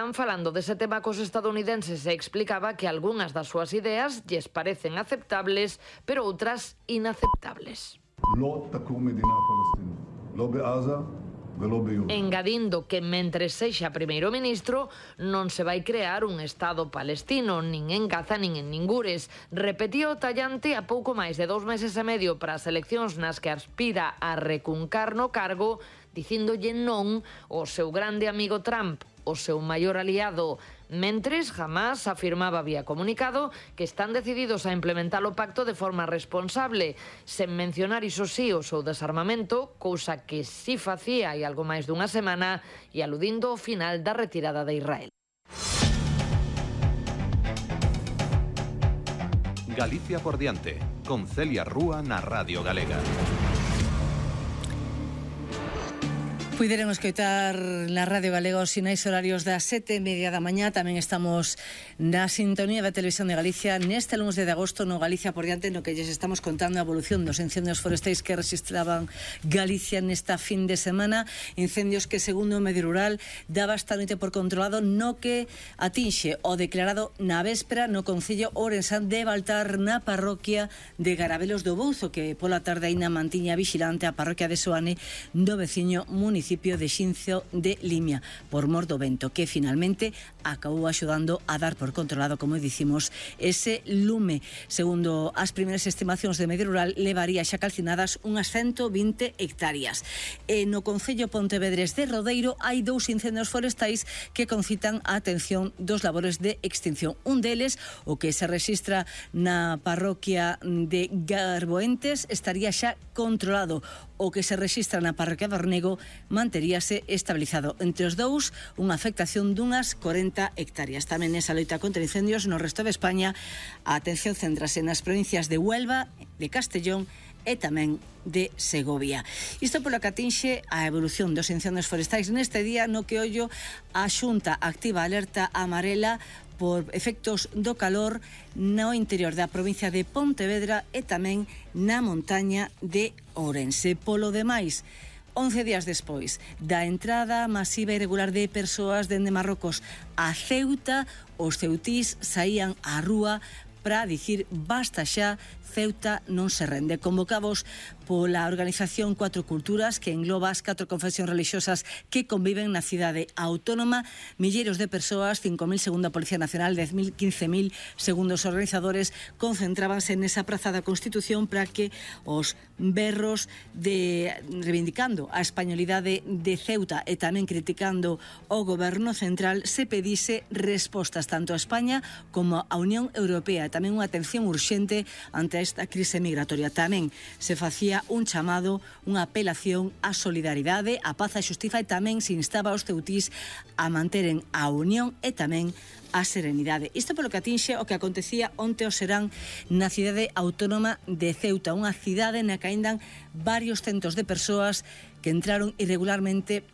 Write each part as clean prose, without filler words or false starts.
Trump falando dese tema cos estadounidenses e explicaba que algunhas das súas ideas lles parecen aceptables, pero outras inaceptables. Engadindo que mentres sexa primeiro ministro non se vai crear un Estado palestino, nin en Gaza nin en ningures. Repetiu tallante a pouco máis de 2 meses e medio para as eleccións nas que aspira a recuncar no cargo, dicíndolle non ao seu grande amigo Trump, o seu maior aliado. Mentres, Hamás afirmaba vía comunicado que están decididos a implementar o pacto de forma responsable, sen mencionar iso sí o seu desarmamento, cousa que si facía hai algo máis dunha semana, e aludindo ao final da retirada de Israel. Galicia por diante, con Celia Rúa na Radio Galega. Puideron escoitar na Radio Galega os sinais horarios das 7:30 da mañá. Tamén estamos na sintonía da Televisión de Galicia neste lunes de agosto no Galicia por diante, no que lles estamos contando a evolución dos incendios forestais que registraban Galicia nesta fin de semana. Incendios que, segundo o Medio Rural, daba esta noite por controlado, no que atinxe o declarado na véspera no concello ourensán de Baltar, na parroquia de Garabelos do Bouzo, que pola tarde aínda mantiña vigilante a parroquia de Soane do veciño municipio de Xinzo de Limia, por mor do vento, que finalmente acabou axudando a dar por controlado, como dicimos, ese lume. Segundo as primeiras estimacións de Medio Rural, levaría xa calcinadas unhas 120 hectáreas. E no concello Pontevedrés de Rodeiro hai 2 incendios forestais que concitan a atención dos labores de extinción. Un deles, o que se rexistra na parroquia de Garboentes, estaría xa controlado. O que se rexistra na parroquia de Ornego manteríase estabilizado. Entre os dous, unha afectación dunhas 40 hectáreas. Tamén nesa loita contra incendios no resto de España, a atención centrase nas provincias de Huelva, de Castellón e tamén de Segovia. Isto polo que atinxe a evolución dos incendios forestais neste día, no que ollo a Xunta activa alerta amarela por efectos do calor no interior da provincia de Pontevedra e tamén na montaña de Ourense. Polo demais, 11 días despois da entrada masiva e irregular de persoas dende Marrocos a Ceuta, os ceutís saían á rúa para dicir basta xa, Ceuta non se rende. Convocados pola organización Cuatro Culturas, que engloba as 4 confesións religiosas que conviven na cidade autónoma, milleiros de persoas, 5.000 segundo a Policía Nacional, 10.000, 15.000 segundo os organizadores, concentrábanse nesa praza da Constitución para que os berros reivindicando a españolidade de Ceuta e tamén criticando o goberno central se pedise respostas tanto a España como a Unión Europea, tamén unha atención urxente ante esta crise migratoria. Tamén se facía un chamado, unha apelación á solidaridade, á paz e xustiza, e tamén se instaba aos ceutís a manteren a unión e tamén a serenidade. Isto polo que atinxe o que acontecía onte o serán na cidade autónoma de Ceuta, unha cidade na que ainda varios centos de persoas que entraron irregularmente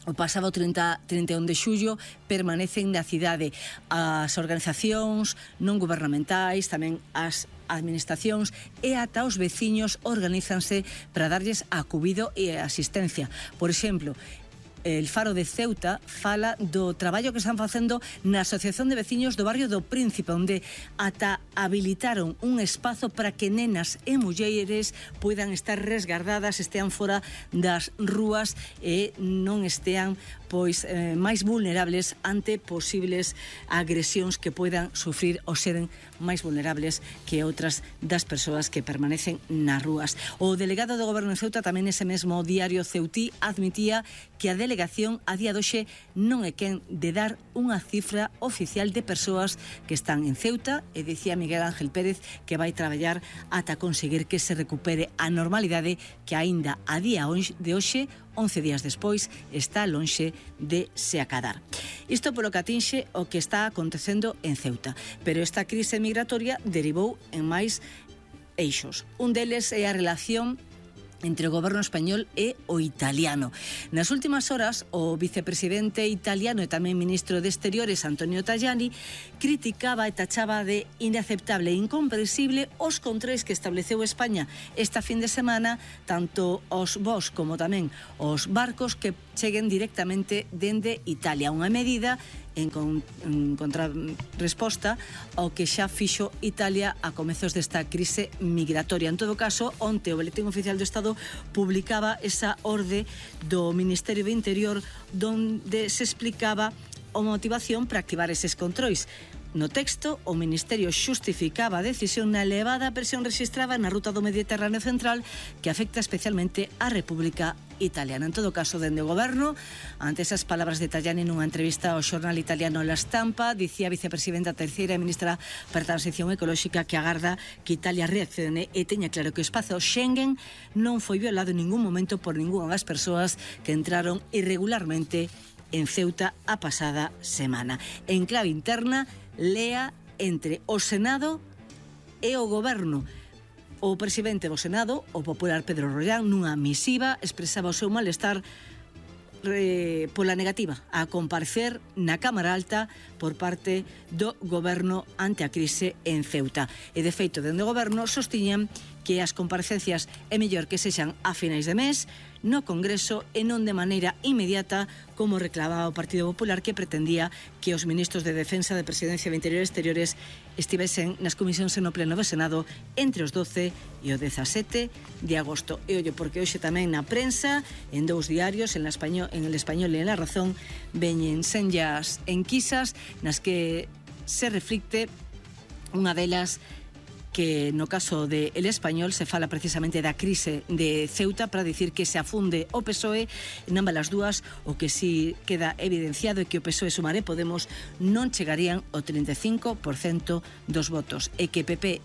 o pasado 31 de xullo permanecen na cidade. As organizacións non gubernamentais, tamén as administracións e ata os veciños organízanse para darlles acubido e asistencia. Por exemplo, el Faro de Ceuta fala do traballo que están facendo na Asociación de Veciños do Barrio do Príncipe, onde ata habilitaron un espazo para que nenas e mulleres poidan estar resguardadas, estean fora das rúas e non estean máis vulnerables ante posibles agresións que poidan sufrir ou seren máis vulnerables que outras das persoas que permanecen nas rúas. O delegado do Goberno de Ceuta tamén ese mesmo diario ceutí admitía que a delegación a día doxe non é quen de dar unha cifra oficial de persoas que están en Ceuta, e dicía Miguel Ángel Pérez que vai traballar ata conseguir que se recupere a normalidade que aínda a día de hoxe, 11 días despois, está lonxe de se acadar. Isto polo que atinxe o que está acontecendo en Ceuta, pero esta crise migratoria derivou en máis eixos. Un deles é a relación entre o goberno español e o italiano. Nas últimas horas, o vicepresidente italiano e tamén ministro de Exteriores, Antonio Tajani, criticaba e tachaba de inaceptable e incomprensible os controis que estableceu España esta fin de semana, tanto os voos como tamén os barcos que cheguen directamente dende Italia. Unha medida en contrarresposta ao que xa fixo Italia a comezos desta crise migratoria. En todo caso, onte o Boletín Oficial do Estado publicaba esa orde do Ministerio do Interior donde se explicaba a motivación para activar eses controis. No texto, o Ministerio xustificaba a decisión na elevada presión registrada na ruta do Mediterráneo Central que afecta especialmente a República Italiana. En todo caso, dende o Goberno, ante esas palabras de Tajani nunha entrevista ao xornal italiano La Stampa, dicía a vicepresidenta terceira e ministra para a Transición Ecolóxica que agarda que Italia reaccione e teña claro que o espazo Schengen non foi violado en ningún momento por ningunha das persoas que entraron irregularmente en Ceuta a pasada semana. En clave interna, lea entre o Senado e o Goberno. O presidente do Senado, o popular Pedro Rollán, nunha misiva expresaba o seu malestar pola negativa a comparecer na Cámara Alta por parte do Goberno ante a crise en Ceuta. E de feito, dende o Goberno sostiñan que as comparecencias é mellor que sexan a finais de mes no Congreso e non de maneira inmediata como reclamaba o Partido Popular, que pretendía que os ministros de Defensa, de Presidencia de Interior e Exteriores estivesen nas comisións no pleno do Senado entre os 12 e o 17 de agosto. E ollo, porque hoxe tamén na prensa, en dous diarios, en El Español e en La Razón, veñen senllas enquisas nas que se reflicte unha delas que no caso de El Español se fala precisamente da crise de Ceuta para dicir que se afunde o PSOE en ambas as dúas. O que si queda evidenciado é que o PSOE, Sumar e Podemos non chegarían ao 35% dos votos e que PP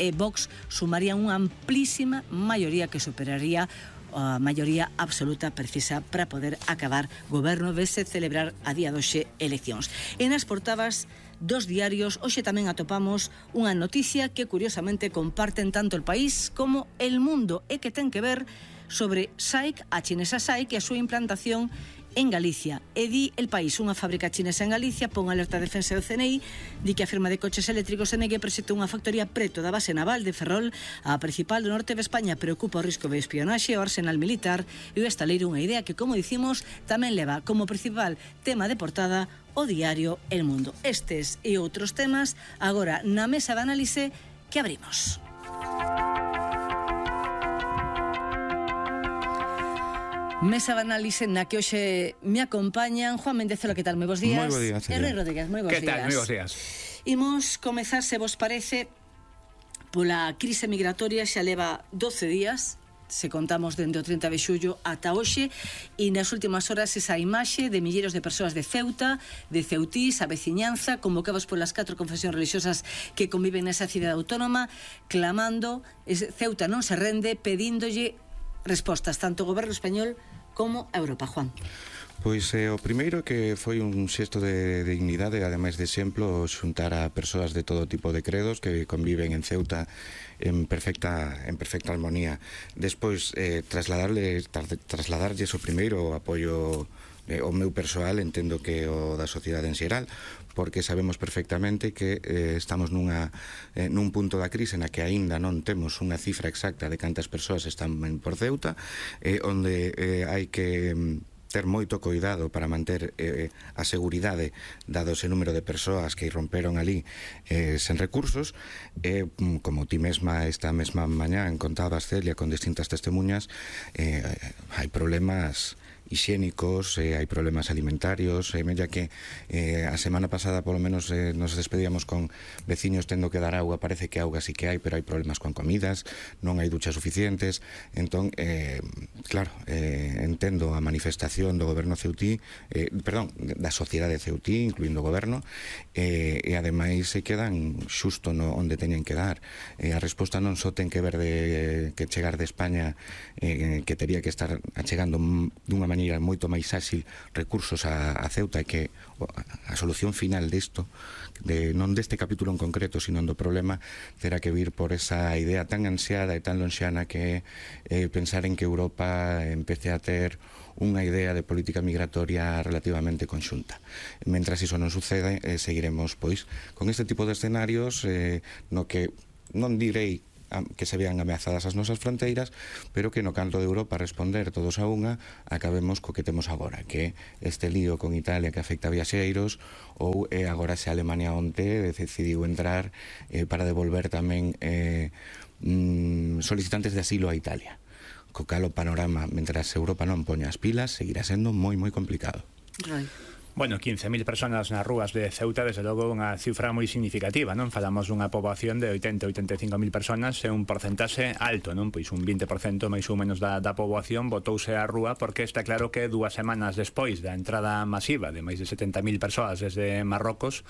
e Vox sumarían unha amplísima maioría que superaría a maioría absoluta precisa para poder acabar goberno vese celebrar a día doxe eleccións. E nas portadas dos diarios hoxe tamén atopamos unha noticia que curiosamente comparten tanto El País como El Mundo e que ten que ver sobre SAIC, a chinesa SAIC e a súa implantación en Galicia. E di El País, unha fábrica chinesa en Galicia pon alerta de defensa do CNI, di que a firma de coches eléctricos NG proxectou unha factoría preto da base naval de Ferrol, a principal do norte de España. Preocupa o risco de espionaxe ao arsenal militar e o estaleiro, unha idea que, como dicimos, tamén leva como principal tema de portada o diario El Mundo. Estes e outros temas agora na mesa de análise que abrimos. Mesa de análise na que hoxe me acompañan Juan Méndez. Que tal? Moi bons días. Moi bons días. Herrera Rodríguez, moi bons días. Que tal? Moi bons días. Imos comezar, se vos parece, pola crise migratoria. Xa leva 12 días, se contamos dende o 30 de xullo ata hoxe, e nas últimas horas esa imaxe de milleiros de persoas de Ceuta, de ceutís, a veciñanza, convocados polas 4 confesións religiosas que conviven nesa cidade autónoma, clamando, Ceuta non se rende, pedíndolle respostas tanto ao goberno español como a Europa. Juan. Pois o primeiro que foi un xesto de dignidade, ademais de exemplo, xuntar a persoas de todo tipo de credos que conviven en Ceuta en perfecta armonía. Despois, trasladarlles o primeiro o apoio o meu persoal, entendo que o da sociedade en xeral, porque sabemos perfectamente que estamos nun punto da crise na que aínda non temos unha cifra exacta de cantas persoas están por Ceuta, onde hai que ter moito cuidado para manter a seguridade dado ese número de persoas que irromperon ali sen recursos. Como ti mesma esta mesma mañá contabas, Celia, con distintas testemunhas, hai problemas hixiénicos, hai problemas alimentarios, mella que a semana pasada polo menos nos despedíamos con veciños tendo que dar auga. Parece que auga sí que hai, pero hai problemas con comidas, non hai duchas suficientes. Entón, claro, entendo a manifestación do goberno ceutí, da sociedade ceutí, incluindo o goberno, e ademais se quedan xusto onde teñen que dar. A resposta non só ten que ver que chegar de España, que tería que estar achegando dunha maneira moito máis áxil recursos a Ceuta, e que a solución final disto, non deste capítulo en concreto, sino do problema, terá que vir por esa idea tan ansiada e tan lonxana que pensar en que Europa empece a ter unha idea de política migratoria relativamente conxunta. Mentras iso non sucede, seguiremos pois con este tipo de escenarios no que non direi que se vean ameazadas as nosas fronteiras, pero que no canto de Europa responder todos a unha, acabemos co que temos agora, que este lío con Italia que afecta a viaxeiros, ou agora se Alemania onte decidiu entrar para devolver tamén solicitantes de asilo a Italia. Co cal o panorama, mentras Europa non poña as pilas, seguirá sendo moi complicado. Right. Bueno, 15.000 personas nas rúas de Ceuta, desde logo unha cifra moi significativa, non? Falamos dunha poboación de 80-85.000 personas, é un porcentaxe alto, non? Pois un 20% máis ou menos da poboación botouse á rúa, porque está claro que 2 semanas despois da entrada masiva de máis de 70.000 persoas desde Marrocos,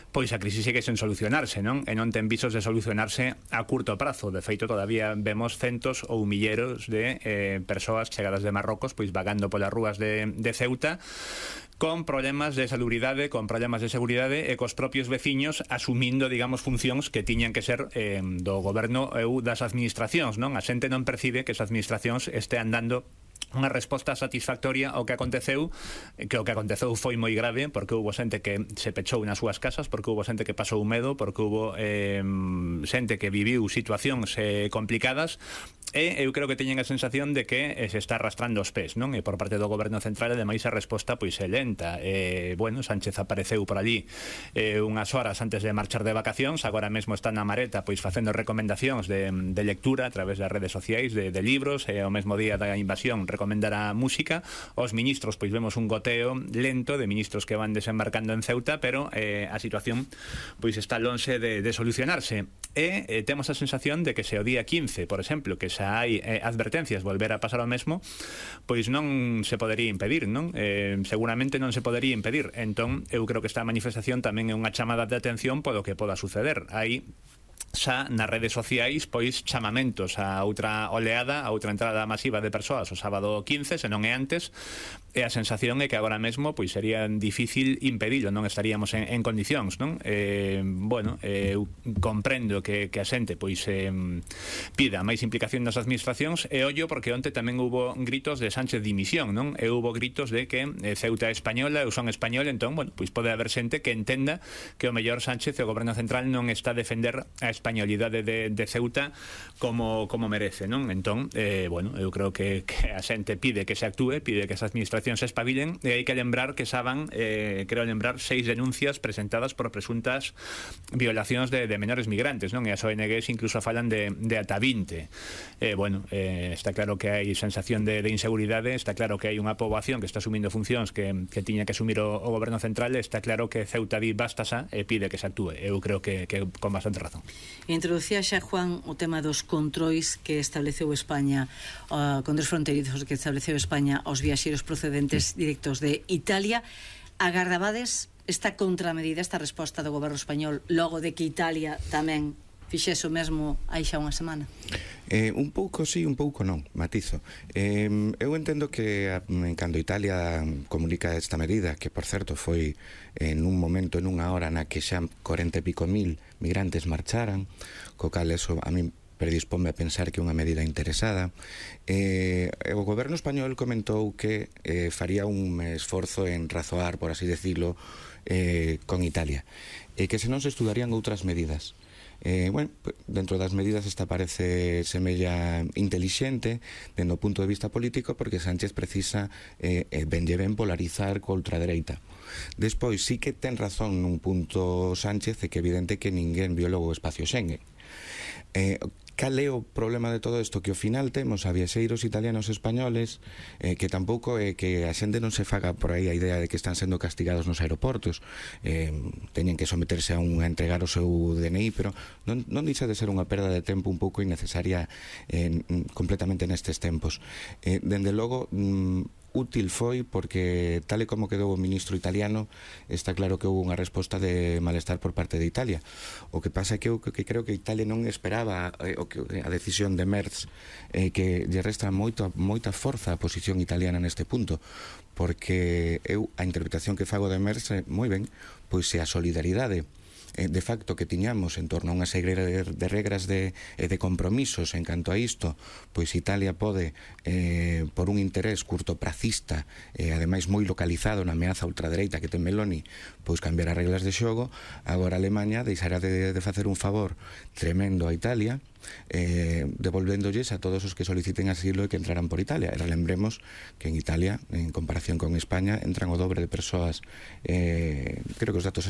pois a crise segue sen solucionarse, non? E non ten visos de solucionarse a curto prazo. De feito, todavía vemos centos ou milleros de persoas chegadas de Marrocos, pois vagando polas rúas de Ceuta, con problemas de salubridade, con problemas de seguridade e cos propios veciños asumindo, digamos, funcións que tiñan que ser do goberno ou das administracións, non? A xente non percibe que as administracións estean dando unha resposta satisfactoria ao que aconteceu, que o que aconteceu foi moi grave, porque houve xente que se pechou nas súas casas, porque houve xente que pasou medo, porque houve xente que viviu situacións complicadas, e eu creo que teñen a sensación de que se está arrastrando os pés, non? E por parte do goberno central, ademais, a resposta pois é lenta. Bueno, Sánchez apareceu por allí unhas horas antes de marchar de vacacións, agora mesmo está na Mareta pois facendo recomendacións de lectura a través das redes sociais, de libros, e ao mesmo día da invasión recomendar a música. Os ministros, pois vemos un goteo lento de ministros que van desembarcando en Ceuta, pero a situación pois está lonxe de solucionarse. E temos a sensación de que se o día 15, por exemplo, que xa hai advertencias volver a pasar o mesmo, pois non se podería impedir, non? Seguramente non se podería impedir. Entón, eu creo que esta manifestación tamén é unha chamada de atención polo que poda suceder. Hai xa nas redes sociais pois chamamentos a outra oleada, a outra entrada masiva de persoas o sábado 15, se non é antes, e a sensación é que agora mesmo pois sería difícil impedilo, non estaríamos en condicións, non? Bueno, eu comprendo que a xente pois pida máis implicación das administracións, e ollo porque onte tamén hubo gritos de Sánchez dimisión, non? E hubo gritos de que Ceuta é española, eu son español, entón, bueno, pois pode haber xente que entenda que o mellor Sánchez e o goberno central non está a defender a españolidade de Ceuta como merece, non? Entón, bueno, eu creo que a xente pide que se actúe, pide que as administracións se espabilen, e hai que lembrar que xa van, creo lembrar, 6 denuncias presentadas por presuntas violacións de menores migrantes, non? E as ONGs incluso falan de ata 20. Bueno, está claro que hai sensación de inseguridade, está claro que hai unha poboación que está asumindo funcións que tiña que asumir o goberno central, está claro que Ceuta di basta xa e pide que se actúe. Eu creo que con bastante razón. Introducía xa, Juan, o tema dos controis que estableceu España, controis fronteirizos que estableceu España aos viaxeiros procedentes directos de Italia. Agardabades esta contramedida, esta resposta do goberno español logo de que Italia tamén fixese o mesmo hai xa unha semana? Un pouco sí, un pouco non, matizo. Eu entendo que cando Italia comunica esta medida, que por certo foi en un momento, en unha hora na que xa 40 e pico mil migrantes marcharan, co cal eso a mí predispome a pensar que é unha medida interesada. O goberno español comentou que faría un esforzo en razoar, por así decirlo, con Italia, e que se non se estudarían outras medidas. Bueno, dentro das medidas esta parece semella intelixente dentro do punto de vista político, porque Sánchez precisa ben polarizar co ultradereita. Despois sí que ten razón nun punto Sánchez, é que é evidente que ninguén violou o espacio Schengen. Cal é o problema de todo isto? Que ao final temos a viaxeiros italianos e españoles que tampouco é que a xente non se faga por aí a idea de que están sendo castigados nos aeroportos, teñen que someterse a entregar o seu DNI, pero non deixa de ser unha perda de tempo un pouco innecesaria completamente nestes tempos. Dende logo útil foi porque, tal e como quedou o ministro italiano, está claro que houve unha resposta de malestar por parte de Italia. O que pasa é que eu creo que Italia non esperaba a decisión de Merz, que lle resta moita forza a posición italiana neste punto, porque eu a interpretación que fago de Merz moi ben, pois é a solidaridade de facto que tiñamos en torno a unha serie de regras de compromisos en canto a isto, pois Italia pode, por un interés curtopracista, ademais moi localizado na ameaza ultradereita que ten Meloni, pois cambiar as reglas de xogo. Agora Alemanha deixará de facer un favor tremendo a Italia, devolvéndolles a todos os que soliciten asilo e que entrarán por Italia. E relembremos que en Italia, en comparación con España, entran o dobre de persoas, creo que os datos